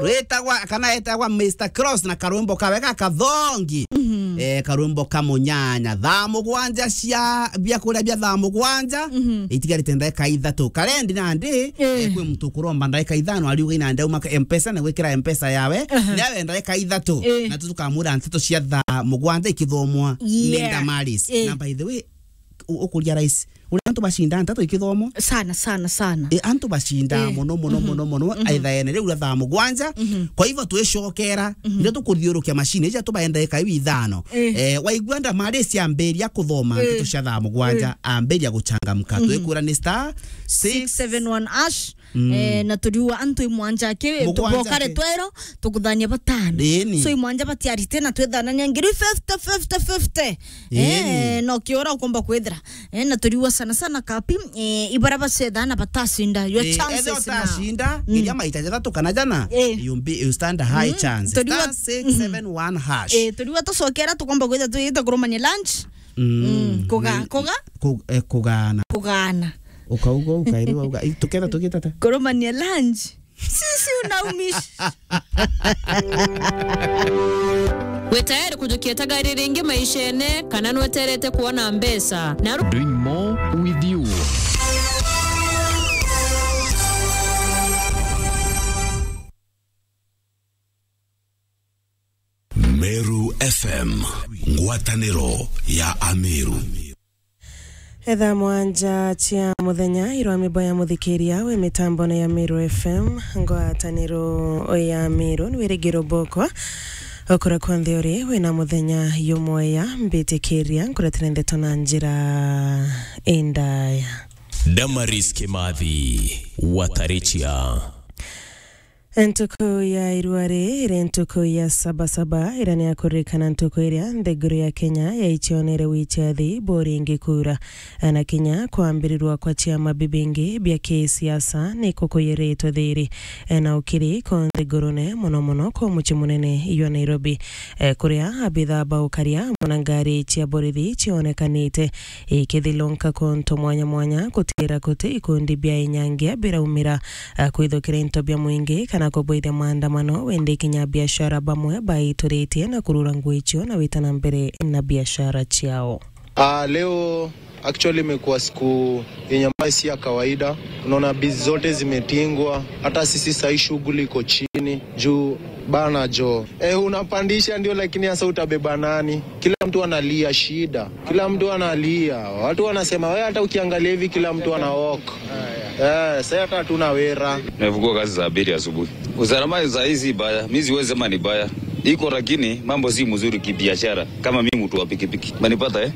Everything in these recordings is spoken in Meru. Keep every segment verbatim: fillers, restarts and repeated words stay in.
Witagwa, kana etagwa Mister Cross na karwimbo kawe gakathongi. Mhm. Eh, karwimbo ka munyanya. Thaa mugwanja cia biakuria bia thaa mugwanja. Mhm. Itigarite ndagika ithatu. Karendi nandi, eh, kwi muntu ukuromba ndagika ithano, ariuga ina ndauma ka M-Pesa na gwikira M-Pesa yawe. Aha. Nawe ndagika ithatu. Eh. Na tukamwira nteto cia thaa mugwanja ikithomwa ni, yeah, Damaris. Eh. Na by the way, u-, ukuria rais, uria antu bacinda nteto ikithomwa. Sana, sana, sana. E, antu bacinda, eh, muno, muno, mhm, muno, muno, mhm, aithaene riu ria thaa mugwanja. Mhm. Kwa hivyo twicokera, mhm, ndio tukuthiurukia machine, ija tubaenda eka iu ithano. Eh. Eh, waigua Damaris ambiria kuthoma, eh, nteto cia thaa mugwanja, eh, ambiria guchangamka. Mhm. Twikwira ni star six seven one hash. Mm. Eh, na turiua antu imwanja aki, mugwanja bokare aki. Twero, tukuthania batano. Ĩni. So imwanja batiarite na twithanania ngiri fifty, fifty, fifty. Ĩni. Eh, no kiora ukomba kwithira. Eh, na turiua sana sana kapi, eh, ibara bacetha na batacinda. Your, eh, chances ethe now. Utacinda, mm, nginya maita jathatu kana jana, eh, you be, you stand a high, mm, chance. Turiua, star six seven one hash. Eh, turiua tucokera tukomba kwithira tuyite kurumania lunch. Mm, mm, kuga-, ni-, kuga-, ku-, eh, kugana. Kugana. Ukauga, ukairi wauga, "Ii, tuketha tugitata." Kurumania lunch. Sisi unaumisha. Wi tayari kujukia tagari ringi maishene, kana nweterete kuona mbeca? Na ru- Doing more with you. Meru F M, ngwataniro ya Ameru. Etha mwanja cia muthenya, irwa mibo ya muthikiria wi mitambone ya Meru F M, ngwataniro ya Meru, ni wirigiro boko. Okura kwonthe uri, wina muthenya yumweya, mbitikiria, nkuretire ndeto na njira indaya. Damaris Kimathi, Watarichia. Ntuku ya irua ri iri ntuku ya Sabasaba, iria ni ya kuririkana ntuku iria nthiguru ya Kenya yaicionere wichathi buringi kura. Na kinya kwambirirwa kwa ciama bibingi bia kisiasa ni kukuyiritwe thiri. Na ukiri ko nthigurune, muno muno ko mucii munene jwa Nairobi, kuria abithaa ba ukaria na ngari cia borithi cionekanite ikithilunka kuntu mwanya mwanya, kutigira kuti ikundi bia inyangia biraumira, a, kwithukira into bia mwingi kana kubwithia maandamano, wende kinya biashara bamwe baituritie na kurura nguo icio na wita na mbere na biashara ciao. Ah, leo actually imekuwa siku yenye ambayo si ya kawaida. Unaona, bizi zote zimetingwa, hata sisi sahii shughuli iko chini juu bana jo. Eh, unapandisha ndio, lakini sasa utabeba nani? Kila mtu analia shida. Kila mtu analia. Watu wanasema, "Wewe hata ukiangalia hivi kila mtu ana walk." Eh, sasa hata hatuna wera. Nimefungua kazi saa mbili asubuhi. Usalama saa hii si mbaya. Mimi siwezi sema ni mbaya. Iko, lakini mambo si mzuri kibiashara. Kama mimi mtu wa pikipiki. Umenipata, eh?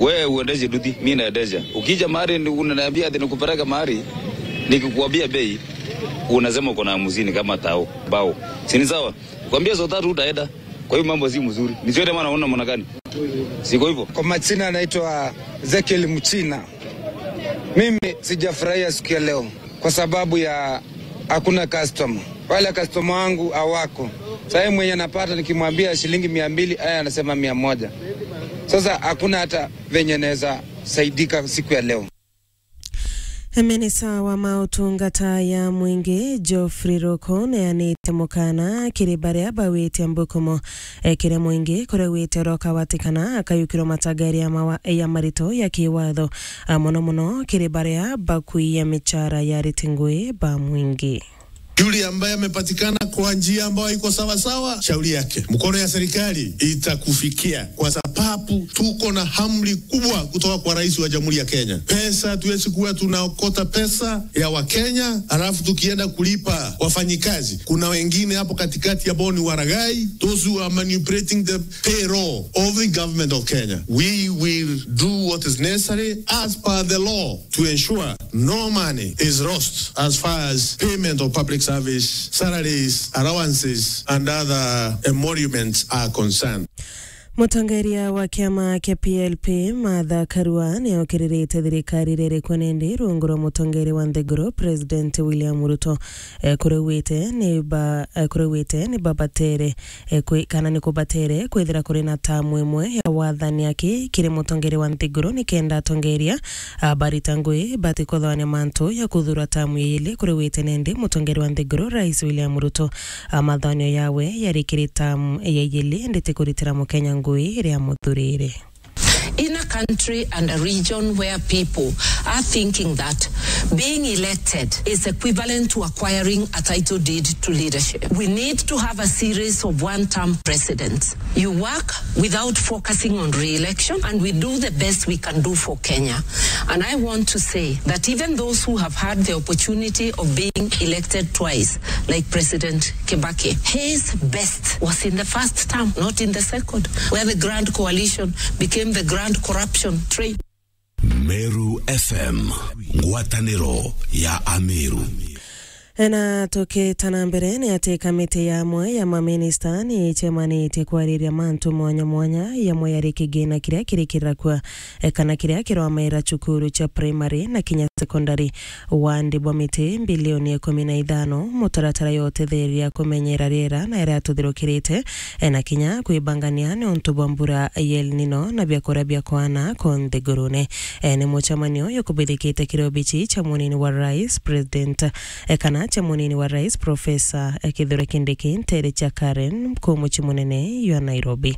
Wewe uendeshe duthi, mimi naendesha. Ukija mahali ni-, unaniambia ati nikupeleke mahali, nikikuambia bei, unasema uko na hamsini kama tao, bao. Si ni sawa? Kwambia saa tatu utaenda. Kwa hiyo mambo si mzuri. Nisione maana unaona maana gani? Siko hivyo? Kwa majina anaitwa Ezekiel Mchina. Mimi sijafurahia siku ya leo kwa sababu ya hakuna customer. Wale customer wangu hawako. Sasa yeye mwenye anapata nikimwambia shilingi mia mbili, yeye anasema mia moja. Sasa hakuna hata venye naweza saidika siku ya leo. Minista wa mautungata ya mwingi Geoffrey Ruku neanite mukana kiri baria bawite mbukumo, e, kiri mwingi kuria wite urokawatikana akayukirwa matagari ya mawa-, ya marito ya kiwatho, a, muno muno kiri baria bakuiya michara ya ariti ngui ba mwingi. Yule ambaye amepatikana kwa njia ambayo haiko sawa sawa, shauri yake. Mkono ya serikali itakufikia, kwa sababu tuko na amri kubwa kutoka kwa Rais wa Jamhuri ya Kenya. Pesa hatuwezi kuwa tunaokota pesa ya Wakenya, alafu tukienda kulipa wafanyikazi. Kuna wengine hapo katikati ambao ni waragai, those who are manipulating the payroll of the government of Kenya. We will do what is necessary as per the law to ensure no money is lost as far as payment of public service, salaries, allowances, and other emoluments are concerned. Mutongeria wa kiama kia P L P, Martha Karua, ni okiririte thirikari iria iri kuo nindi rungu rwa mutongeria wa nthiguru, President William Ruto. Eh, kuria augite ni ba-, eh, kuria augite ni babatere, eh, kwi-, kana ni kubatere kwithira kuri na tamu imwe ya wathani aki kiri mutongeria wa nthiguru, nikenda atongeria, ah, barita ngui batikothwania mantu ya kuthura tamu ya ili. Kuria augite nindi mutongeria wa nthiguru, Rais William Ruto, ah, mathanio yawe yari kiri tamu ya ili, indi ti kuritira Mukenya ngui iria amuthurire. In a country and a region where people are thinking that being elected is equivalent to acquiring a title deed to leadership, we need to have a series of one-term presidents. You work without focusing on re-election, and we do the best we can do for Kenya. And I want to say that even those who have had the opportunity of being elected twice, like President Kibaki, his best was in the first term, not in the second, where the Grand Coalition became the Grand Corruption Train. Meru F M, ngwataniro ya Ameru. Na tukita na mbere, ni ati kamiti ya amwe ya maminista ni icemanitie kwariria mantu mwanya mwanya, yamwe yari kigina kiria kirikirira kua, e, kana kiria kirwamaira cukuru cia primary na kinya secondary. Wandi bwa miti bilioni ikumi na ithano, mutaratara ya utetheria kumenyera riera na iria tuthirukirite, e, na kinya kwibangania niuntu bwa mbura ya El Nino na biakuria bia kwana ku nthigurune. E, ni mucemanio uyu ukubithikite kiri obici cia munini wa rais, President, e, kana cia munini wa rais, Professor, e, Kithure Kindiki, ntere cia Karen, ku mucii munene jwa Nairobi.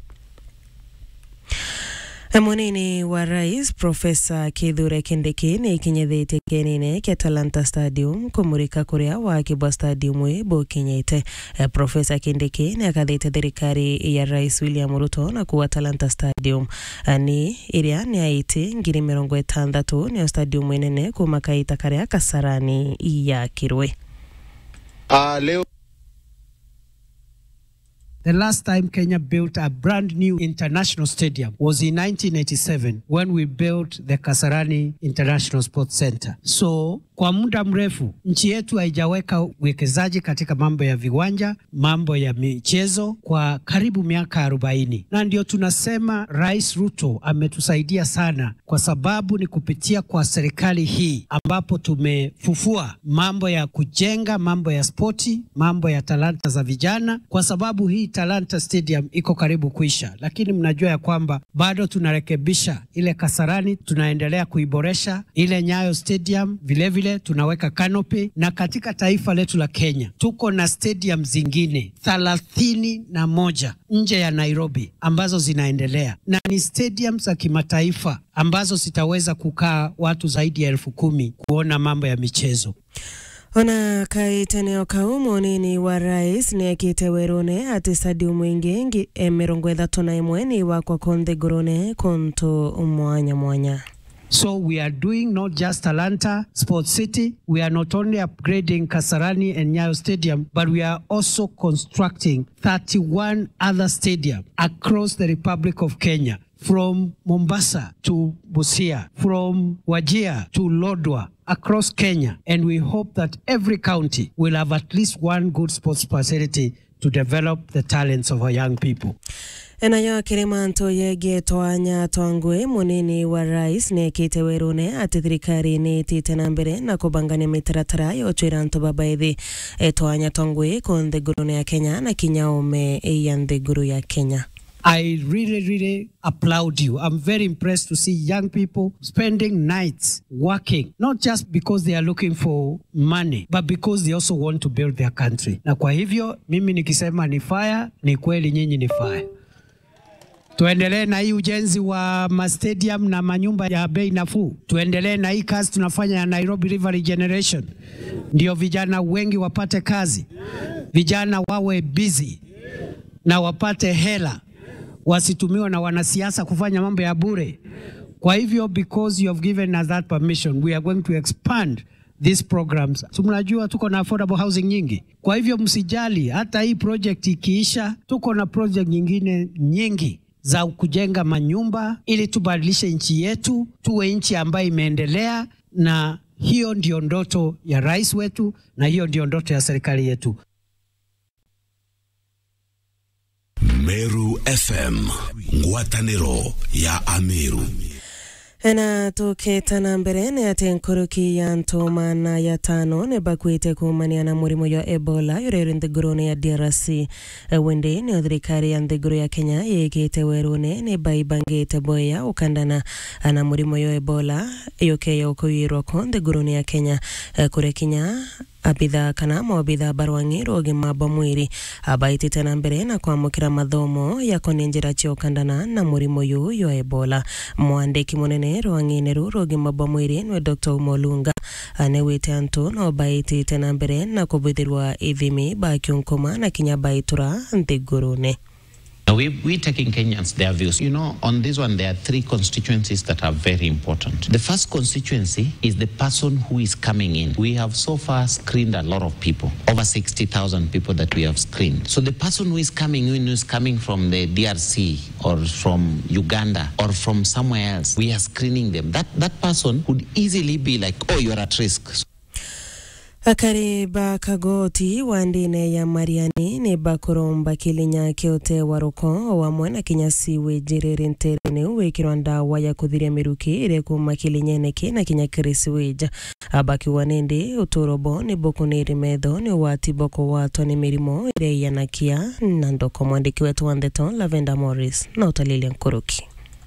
E, munini wa rais, Professor Kithure Kindiki, ni ikinyithitie kienine kia Talanta Stadium kumurika kuria waki bwa stadium ii bukinyite. E, Professor Kindiki ni akathite thirikari ya Rais William Ruto na kuuga Talanta Stadium, e, ni iria ni aiti ngiri mirongo itantatu, niyo stadium inene kuma kaita karia Kasarani yakirwe. Ah, leo The last time Kenya built a brand new international stadium was in nineteen eighty-seven when we built the Kasarani International Sports Centre. So, kwa muda mrefu, nchi yetu haijaweka uwekezaji katika mambo ya viwanja, mambo ya michezo kwa karibu miaka arobaini. Na ndio tunasema Rais Ruto ametusaidia sana kwa sababu ni kupitia kwa serikali hii ambapo tumefufua mambo ya kujenga, mambo ya spoti, mambo ya talanta za vijana, kwa sababu hii Talanta Stadium iko karibu kuisha, lakini mnajua ya kwamba bado tunarekebisha ile Kasarani, tunaendelea kuiboresha, ile Nyayo Stadium vilevile tunaweka canopy, na katika taifa letu la Kenya tuko na stadium zingine thelathini na moja nje ya Nairobi ambazo zinaendelea, na ni stadium za kimataifa ambazo zitaweza kukaa watu zaidi ya elfu kumi kuona mambo ya michezo. Ona kaiteneo kau, munini wa rais niekite werune ati stadium ingi ngi-, e, mirongo ithatu na imwe ni iwakwa ku nthigurune kuntu mwanya mwanya. So we are doing not just Talanta Sports City, we are not only upgrading Kasarani and Nyayo Stadium, but we are also constructing thirty-one other stadium across the Republic of Kenya, from Mombasa to Busia, from Wajir to Lodwar, across Kenya. And we hope that every county will have at least one good sports facility to develop the talents of our young people. Enayo kiri mantu yegie twanya twa ngui, munini wa rais niekite werune ati thirikari ni itite na mbere na kubangania mitaratara ya ucwira antu babaithi, e, twanya twa ngui ku nthigurune ya Kenya na kinya ume ya nthiguru ya Kenya. I really, really applaud you. I'm very impressed to see young people spending nights working, not just because they are looking for money, but because they also want to build their country. Na kwa hivyo, mimi nikisema ni fire, ni kweli nyinyi ni fire. Tuendelee na hii ujenzi wa ma stadium na manyumba ya bei nafuu. Tuendelee na hii kazi tunafanya ya Nairobi River Regeneration. Ndio vijana wengi wapate kazi. Vijana wawe busy na wapate hela, wasitumiwe na wanasiasa kufanya mambo ya bure. Kwa hivyo, because you have given us that permission, we are going to expand these programs. Si mnajua tuko na affordable housing nyingi? Kwa hivyo, msijali, hata hii project ikiisha, tuko na project nyingine nyingi za kujenga manyumba ili tubadilishe nchi yetu, tuwe nchi ambayo imeendelea, na hiyo ndio ndoto ya rais wetu, na hiyo ndio ndoto ya serikali yetu. Meru F M, ngwataniro ya Ameru. Na tukita na mbere, ni ati nkuruki ya antu maana ya tano ni bakuite kuumania na murimo jwa Ebola uria uri nthigurune ya D R C. Windi niyo thirikari ya nthiguru ya Kenya yikite werune ni baibangite bwega ukandana na murimo jwa Ebola yukeya ukuirwa ku nthigurune ya Kenya, kuria kinya abitha kana maobitha barwang'i rwa ugima bwa mwiri abaitite na mbere na kwamukira mathomo ya koni njira cia ukandana na murimo uyu jwa Ebola. Mwandiki munene rwang'ine ruu rwa ugima bwa mwiri nwe Doctor Umolunga anewite antu no baitite na mbere na kubwithirwa ithimi bakiunkuma na kinya baitura nthigurune. Now, we, we taking Kenyans their views. You know, on this one, there are three constituencies that are very important. The first constituency is the person who is coming in. We have so far screened a lot of people, over sixty thousand people that we have screened. So the person who is coming in, who is coming from the D R C or from Uganda or from somewhere else, we are screening them. That, that person could easily be like, "Oh, you're at risk." Akari ba kagoti wa ndine ya Mariani ni bakuromba kilinya kia utewa ruko o amwe na kinya sewage riri nterene u wikirwa ndawa ya kuthiria miruki iria ikuma kilinyene ki na kinya kiri sewage. Abakiuga nindi uturo bo ni bukuniri metho ni ugwati bwa kugwatwa ni mirimo iria iyanakia na ndoko. Mwandiki wetu wa ndeto Lavender Morris na utalilia nkuruki.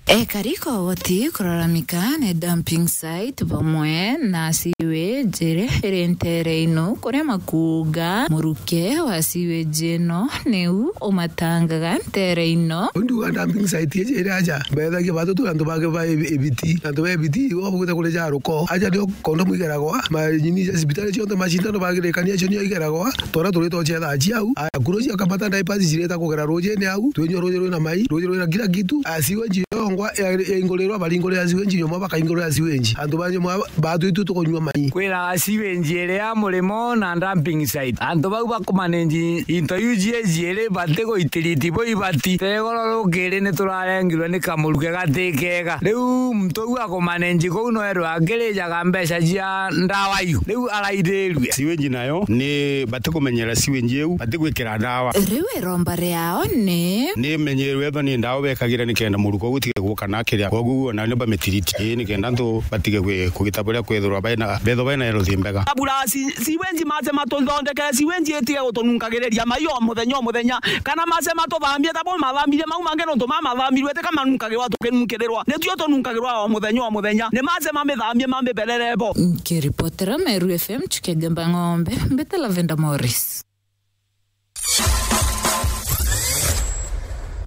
Ekari kogoti kuraramika ni dumping site bamwe na sewage iri iri ntere ino, kuria makuuga muruke wa sewage ino niu umatangaga ntere ino. Ndiuga dumping site iji iri aja, mbethagia batu tu antu bake ba ibi-, ibiti, antu ba ibiti ibo bagwita kuri ja ruko. Aja nio kondomu igeragwa, manyini ja cibitari cionthe, macindano bagirikania acio nio igeragwa. Twara turi twocetha aci au, aya kuro cia kamata diapers cireta kugera rujini au, twinyua ruji rwina mai, ruji rwina kila kitu. Aya sewage yongwa ya, yaingurirwa, baringurira sewage nyuma, bakaingurira sewage. Antu ba nyuma batu itu tukunyua mai. Kwina sewage iria murimo na dumping site. Antu bau bakumanage into iu cie ciiri bati guitiriti bo ibati. Tegoro rukiri ni turarengirwe ni kamuruke gati kega. Riu muntu u akumanage kuu no erwe akirijaga mbeca cia ndawa iu. Riu arairirue. Sewage nayo ni bati kumenyera sewage iu, bati gwikira ndawa. Riu iromba riao ni? Ni menyerwe ethwa ni ndawa bekagira nikenda muruko utige guka na kiria. Koguo ona ni bamitiriti. Ii, nikenda antu batige kwi-, kugita buria kwithirwa baina, bethwa baina health mbega. Abura si-, sewage mace matuthondekere sewage itige gutununkagiriria mai o muthenya o muthenya. Kana mace matuthambie ta bo mathambirie mau mangi nontu ma mathambirie tika manunkagirwa tukinunkirirwa. Nituo tununkagirwa o muthenya o muthenya. Ni mace mamithambie mamiberere bo. Nkiripotera Meru F M, Chukia Gemba Ng'ombe, mbita Lavender Morris.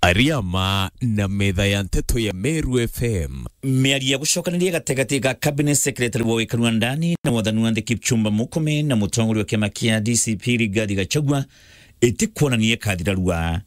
Ariama na metha ya nteto ya Meru F M. Miario ya gucokaniria gategati ga Cabinet Secretary wa wikari wa ndani na wathani wa nthi Kipchumba Murkomen na mutongoria wa kiama kia D C P Rigathi Gachagua itikwonania ikathira rua.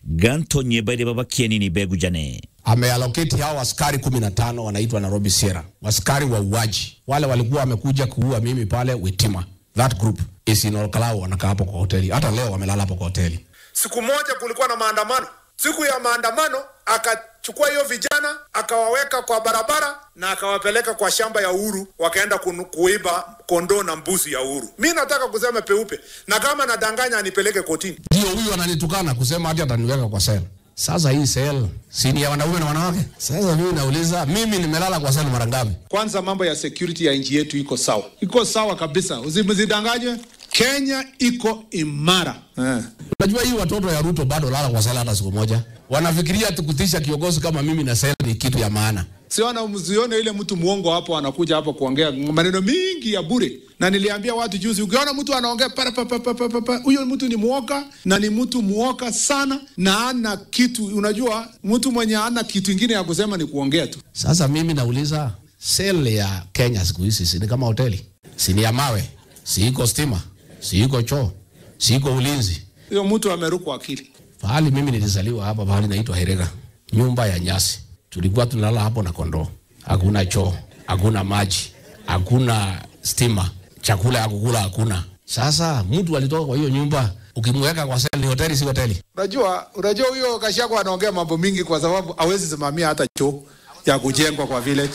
Ganto nyeba iria baba kienini begujane. Ameallocate hao askari kumi na tano wanaitwa Nairobi Sierra. Askari wauaji. Wale walikuwa wamekuja kuua mimi pale Witima. That group is in Olkalau, wanakaa hapo kwa hoteli. Hata leo wamelala hapo kwa hoteli. Siku moja kulikuwa na maandamano. Siku ya maandamano, akachukua hiyo vijana, akawaweka kwa barabara na akawapeleka kwa shamba ya Uhuru, wakaenda kunu-, kuiba kondoo na mbuzi ya Uhuru. Mi nataka kusema peupe, na kama nadanganya, anipeleke kotini. Ndio huyu ananitukana kusema ati ataniweka kwa cell. Sasa hii cell, si ni ya wanaume na wanawake? Sasa mimi nauliza, mimi nimelala kwa cell mara ngapi? Kwanza, mambo ya security ya nchi yetu iko sawa. Iko sawa kabisa. Usi-, msidanganywe. Kenya iko imara. Eh. Unajua hii watoto ya Ruto bado lala kwa cell hata siku moja. Wanafikiria ati kutisha kiongozi kama mimi na cell ni kitu ya maana. Siona, msione ile mtu muongo hapo anakuja hapo kuongea maneno mingi ya bure. Na niliambia watu juzi, ukiona mtu anaongea para pa, pa, pa, pa, pa, pa, huyo mtu ni mwoka, na ni mtu mwoka sana, na ana kitu. Unajua, mtu mwenye ana kitu ingine ya kusema ni kuongea tu. Sasa mimi nauliza, cell ya Kenya siku hizi si ni kama hoteli? Si ni ya mawe? Si iko stima? Si iko choo? Si iko ulinzi? Huyo mtu amerukwa akili. Pahali mimi nilizaliwa hapa, pahali naitwa Herega, nyumba ya nyasi. Tulikuwa tunalala hapo na kondoo. Hakuna choo, hakuna maji, hakuna stima, chakula ya kukula hakuna. Sasa mtu alitoka kwa hiyo nyumba, ukimweka kwa cell, ni hoteli, si hoteli? Unajua, unajua huyo Gachagua anaongea mambo mingi kwa sababu hawezi simamia hata choo ya kujengwa kwa village.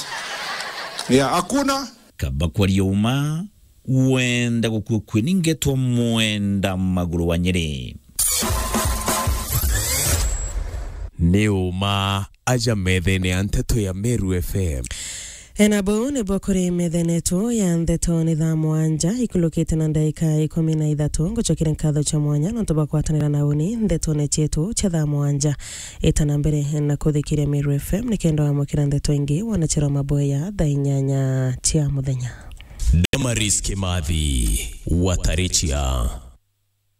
Yeah, hakuna. Kaba kwaria uma, wenda gukua kwi ni ngetwa mwenda maguru wa Nyeri. Ni uma aja methene ya nteto ya Meru F M. Ena bau ni bwa kuri methene yetu ya nteto ni thaa mwanja ikulukite na ndaika ikumi na ithatu. Ngucokere nkatho cha mwanya nontu bwa kwatanira na uni ntetone cietu cha thaa mwanja. Ita na mbere na kuthikiria Meru F M nikenda wamukira nteto ingi wona chero maboya thaa inyanya cia muthenya. Damaris Kimathi, Watarichia.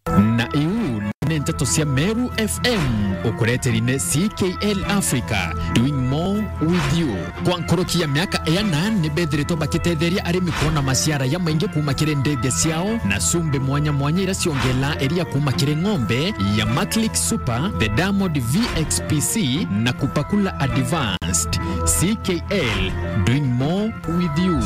Na iu ni nteto cia Meru F M, ukureteri ni C K L Africa, doing more with you. Kwa nkoroki ya miaka iana, ni bethiritwe bakitetheria arimi kwona maciara ya maingi kuma kiri ndethia ciao na cumbi mwanya mwanya iria ciongelaa iria kuma kiri ng'ombe ya Maclick Super, the Diamond V X P C na Kupakula Advanced. C K L, doing more with you.